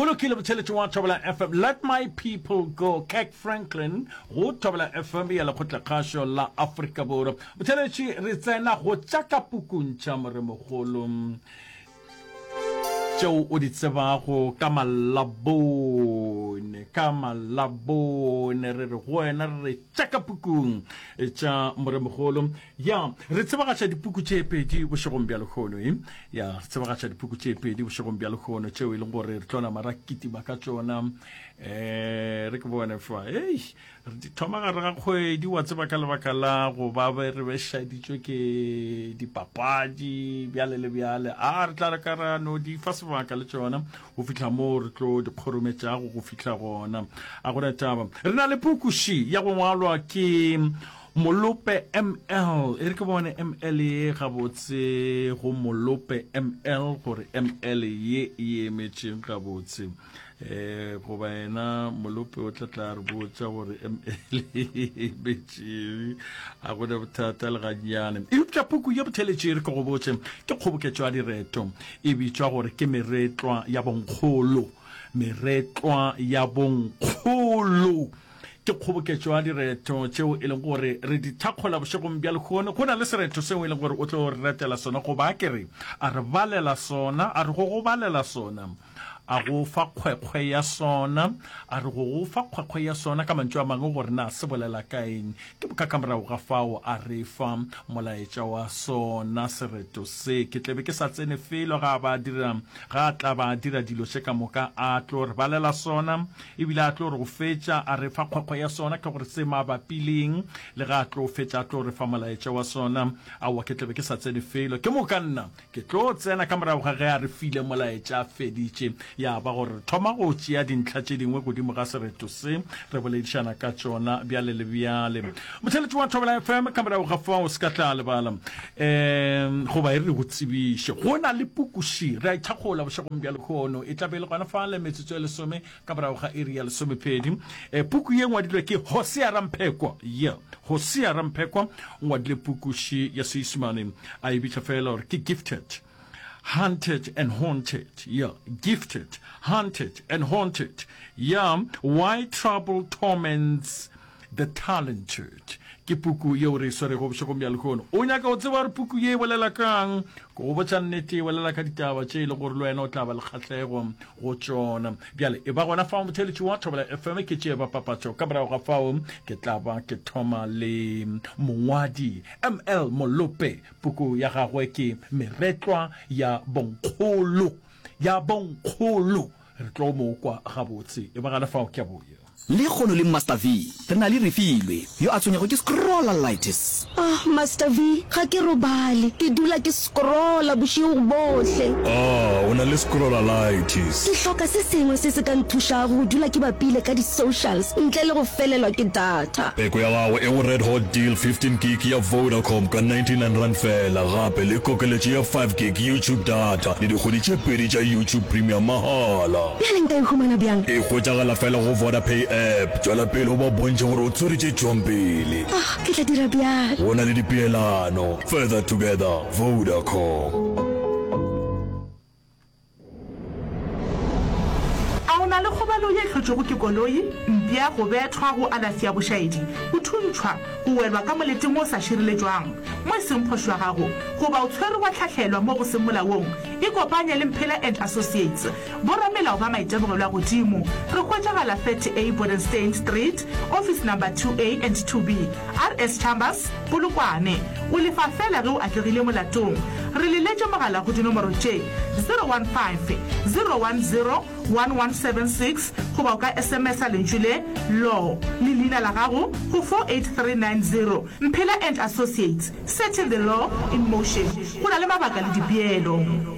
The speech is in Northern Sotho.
lokile botheletši wa Thobela FM. Let my people go. Kirk Franklin go Thobela FM ya Lekgotlakgašo la Afrika Borwa. Botheletši re tsena go tša ka pukung tša Moremogolo tšeo o di tsebago ka malabone, ka malabone re re go wena re re tša ka pukung tša Moremogolo. Ya, re tsebagatša dipuku tše pedi bošegong bja lehono, e. Ya, re tsebagatša dipuku tše pedi bošegong bja lehono tšeo e leng gore re tlo nama ra kitima ka tšona. Eh, re ke bone fa. Ei, re di thoma gare ga kgwedi, wa tseba ka lebaka la go ba be re bešaditšwe ke dipapadi bjale le bjale. A re tla re ka ra no di fa sebaka le tšona go fihla moo re tlo di kgorometšago go fihla gona. A gona taba. Re na le puku še ya go ngwalwa ke Molope ML, e re ke bone ML ye gabotse go Molope ML gore ML ye e emetšeng gabotse. Eh goba yena Molope o tla tla re botša gore ML e emetšeng. A gona bothata le gannyane. Eupša puku ye botheletše e re ke go botše ke kgoboketšo ya direto e bitšwa gore ke Meretlwa ya Bonkgolo. Meretlwa ya Bonkgolo. Ke kgoboketšo ya direto tšeo e leng gore re di thakgola bošegong bja lehono. Go na le sereto seo e leng gore o tlo re retela sona, goba a ke re a re balela sona, a re go go balela sona, a go fa kgwekgwe ya sona, a re go go fa kgwekgwe ya sona, ka mantšu a mangwe gore na se bolela ka eng. Ke boka ka morago ga fao a re fa molaetša wa sona sereto se. Ke tle be ke sa tsene felo ga a ba dira, ga a tla ba a dira dilo tše ka moka a tlo re balela sona. Ebile a tlo re go fetša a re fa kgwekgwe ya sona, ke gore se mabapi le eng, le ge a tlo fetša a tlo re fa molaetša wa sona. Aowa, ke tla be ke sa tsene felo. Ke moka nna ke tlo tsena ka morago ga ge a re file molaetša a feditše, ya ba gore re thoma go tšea dintlha tše dingwe godimo ga sereto se, re boledišana ka tšona bjale le bjale. Motheeletši wa Thobela FM, ka morago ga fao se ka tla lebala um goba e re go tsebiše, go na le pukuši, re a ithakgola bošegong bja lehono, e tla be e le gona fale metsotso e lesome ka morago ga iri ya lesomepedi. E, puku ye ngwadilwe ke Hosea Ramphekwa. Ye, Hosea Ramphekwa o ngwadile pukuši ya Seisemane, a e bitša fela gore ke Gifted, Hunted and Haunted. Yeah, Gifted, Hunted and Haunted. Yeah, Why Trouble Torments The Talented ke puku yeo re e swerego bošegong bja lehono. O nyaka go tseba gore puku ye e bolela kang? Ke go botša nnete, e bolela ka ditaba tše e le gore le wena o tla ba le kgahlego go tšona. Bjale e ba gona fao motheeletši wa Thobela FM ke tšee ba papatšo. Ka morago ga fao ke tla ba ke thoma le mongwadi ML Molope. Puku ya gagwe ke Meretlwa ya Bonkgolo. Ya Bonkgolo. Re tlo mo kwa gabotse. E ba gana fao ke a boya. Lekgono le Master V, re na le Refilwe, yo a tshwenyago ke scrollalitis. Ah, Master V, ga ke robale. Ke dula ke scrolla bošego bohle. Ah, o na le scrollalitis. Ke hloka se sengwe se se ka nthušago go dula ke bapile ka di-socials ntle le go felelwa ke data. Peko ya gago e go Red Hot Deal 15 gig ya Vodacom ka R99 feela, gape le kokeletšo ya 5 gig YouTube data le dikgwedi tše pedi tša YouTube Premium mahala. Bjale nka e humana bjang? E hwetšagala feela go Vodapay app. Tšwela pele o ba bontšhe gore o tshwere tše tšwang pele. Ah, ke tla dira bjalo. Go na le dipeelano. Further together, Vodacom. A o na le kgobalo ye e hlotšwego ke koloi, mpša, go bethwa, go alafi ya bošaedi, go thuntšhwa, go welwa ka moleteng wo o sa šireletšwang, mo e seng phošo ya gago, goba o tshwerwe wa hlahlelwa mo go seng molaong? Ikopanye le Mphela and Associates, boramelao ba maitemogelo a godimo. Re hwetšagala 30A Bodenstein Street, Office Number 2A and 2B, RS Chambers, Polokwane. O lefa feela ge o atlegile molatong. Re leletše mogala go dinomoro tše, 015 010 1176 goba o ka SMS-a lentšu le, Law, le leina la gago go 48390. Mphela and Associates, setting the law in motion. Go na le mabaka le dipeelo.